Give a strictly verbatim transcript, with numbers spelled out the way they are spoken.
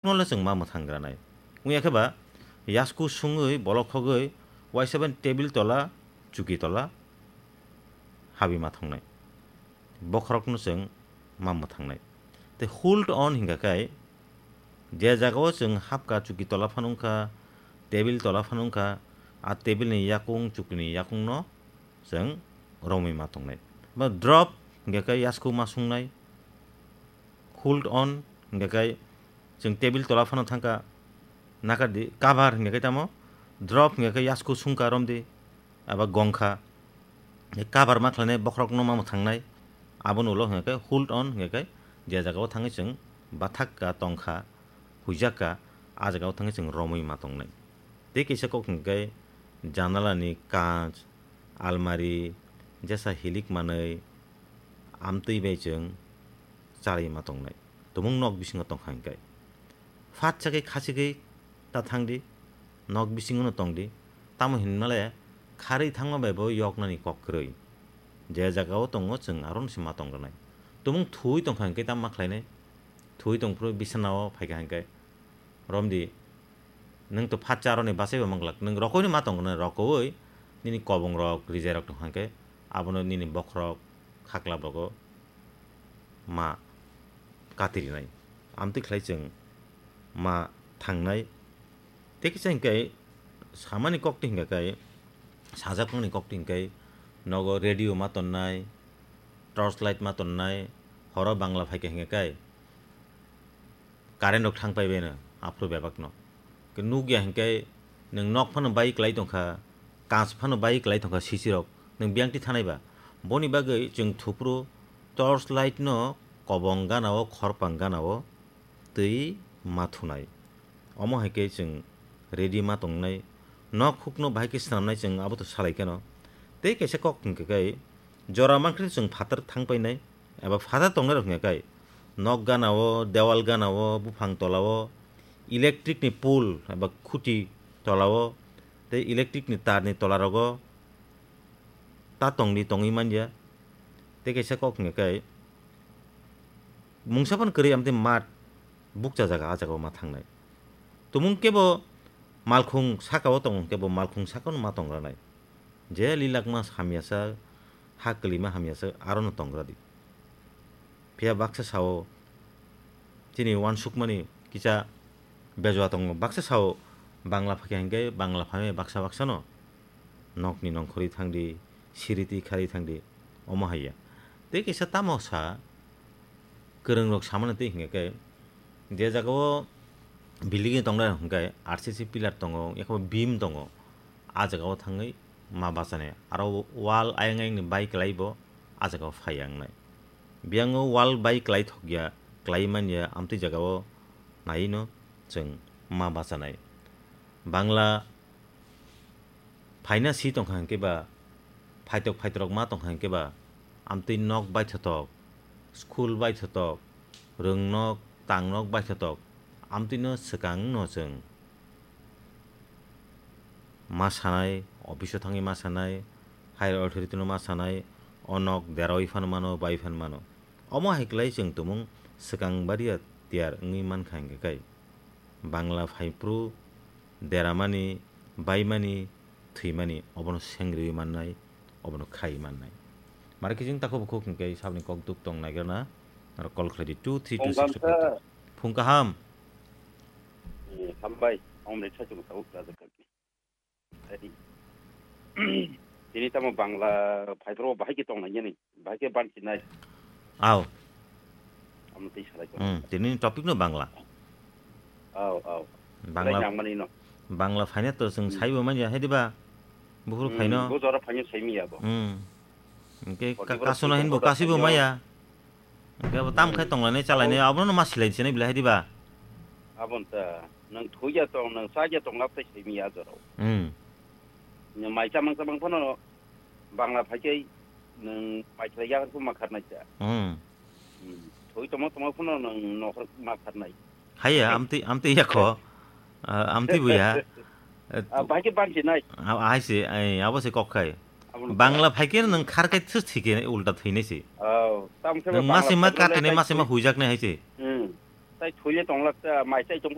no le chwng ma mwthang granai. Wngya khe ba yasku sungwi bolok khogwi uaisa bai table tola, chuki tola habwi ma thongnai. Bokhorok no chwng ma mwthangnai. Tei hold on hingka khe je jaga o chwng hapka chuki tola phano wngkha, table tola phano wngkha, a table ni yakung chuki ni yakung no chwng romwi ma tongnai. Ba drop hingka khe yasku ma sungnai. Hold on hingka khe chwng table tola phano thangkha, nakar di, cover hingka khe tamo, drop hingka khe yasku sungkha romdi, aba gongkha, cover ma khlainai bokhorok no ma mwthangnai, aboni ulo hingka khe hold on hingka khe je jaga o thangwi chwng bathak ka tongkha, huijak ka, a jaga o thangwi chwng romwi ma tongnai. Tei kisa kok hingka khe janala ni kach, almari, jesa hilik manwi amtwi bai chwng chalwi ma tongnai. Tumung nok bisingo tongkha hingkhe. Phat chakhe khachigwi ta thangdi, nok bisingono tongdi. Tamo hinmale kharwi thangma bai bo yoknani kok kwrwi. Je jaga o tongo chwng arono se ma tong rwnai. Tumung thuwi tongkha hingkhe tamo ma khlainai? Thuwi tongphuru bisana o phaikha hingkhe romdi. Nwng to phat cha aroni bachai bo manglak. Nwng rokoino ma tongkha, rokowi nini kobongrok, rijairok tongkha hingkhe abono nini bokhorok, khaklap rogo ma katirinai. Amtwi khlai chwng ma thangnai. Tei kisa hingkhe samani kokti hingkha khe, sajakmani kokti hingkhe nogo radio ma tonnai, torch light ma tonnai, horo Bangla phaikha hingkha khe, current rok thang pai baino, aphuru bebak no. Ke nukya hingke nwng nok phano bai kwlai tongkha, kach phano bai kwlai tongkha sisi rok, nwng biyang ti thanai ba. Boni bagwi chwng thupru torch light no kobong gana o, khorpang gana o twi ma thunai. Omo hai khe chwng ready ma tongnai. Nok huk no bahai khe swnamnai chwng abo to salai kheno. Tei kaisa kok hingke kai jora mankhe chwng phatar thang painai. Eba phatar tongnai rok hingya kai, nok gana o, dewal gana o, buphang tola o, electric ni pole eba khuti tola o, tei electric ni tar ni tola rogo ta tongdi tongwi manya. Tei kaisa kok hingya kai, mungsa phano kwrwi amtwi mat bukcha jaga, a jaga o ma thangnai. Tumung kebo malkhung saka o tong, kebo malkhung saka o ma tong ranai. Je lilakma hamyasa, ha kwlwima hamyasa, arono tongra di. Phiya baksa sao, chini uansukmani kisa bejua tongo. Baksa sao, Bangla phakhe hingke, Bangla phaimai baksa baksa no. Nokni nongkhorwi thangdi, siriti kharwi thangdi, omo haiya. Tei kisa tamo sa, kwrwng rok samani tei hingke, je jaga o building ni tongnai hingke, R C C pillar tongo, yakho beam tongo. A jaga o thangwi ma bachani. Aro wall ayang ayang ni bai kwlai bo a jaga o phai yang nai. Biyang o wall bai kwlai thok ya, kwlai man ya, amtwi jaga o nai no chwng ma bachanai. Bangla phaina si tongkha hingke ba, phaitok phaitrok ma tongkha hingke ba, amtwi nok baithotok, school baithotok, rwngnok, tangnok baithotok, amtwi no swkang no chwng ma sanai, office o thangwi ma sanai, higher authority no ma sanai, o nok derawi phano mano, bai phano mano. Omo hai kwlai chwng tumung swkang baria tiyar wngwi mankha hingke kai. Bangla phaiphru deramani, baimani, thwimani, obono sengriwi mannai, obono khai mannai. Mara khe chwng takhuk bukhuk hingke saboni kok duk tong naigrana, aro call khlai di two three two six two five two. Phung kaham. Eh, hambai, omre chachung tau raja kaki. Tini tamo Bangla phaiphru bahai khe tong nai yani, bahai khe banchi nai. Aw. Amo tei salai ko. Hmm, tini topic no Bangla. Aw, aw. Bangla. Salai nang mani no. Bangla phaina to chwng Hmm. saibo manya, hai diba? Buphuru Hmm, phaino. Bo jora phaino saimi ya bo. Hmm. Hingke Odi ka-, boro kasuna sui hinbo tongbo kasibo phaino. Maya. Hingke abo tam khai Hmm. tonglai nai, chalai nai, Abo abono ma silai sinai bilai, hai diba? Abon ta, nang thuya tong, nang saja tong lap tai saimi ya jora. Hmm. Nang mai chamang chamang phano Bangla phai khe nwng mai khlai ya khe ma kharnai cha. Hmm. Hmm. Thoi tongma tongma phano nwng nokhor ma kharnai. Haiya, amtwi, amtwi ya kho. Ah, amtwi buya. Eh, Ah, bahai khe banchi nai. Ah, hai se, ai, abo se kok khai. Abo Bangla phai khe nwng khar khai thus thike ulta thwinai se. Oh, tam khe Nwng Bangla mase ma phai khe katene, nai mase ma thoi. Huijak nai hai se. Hmm. Tai thoi le tong lak cha, mai chai tong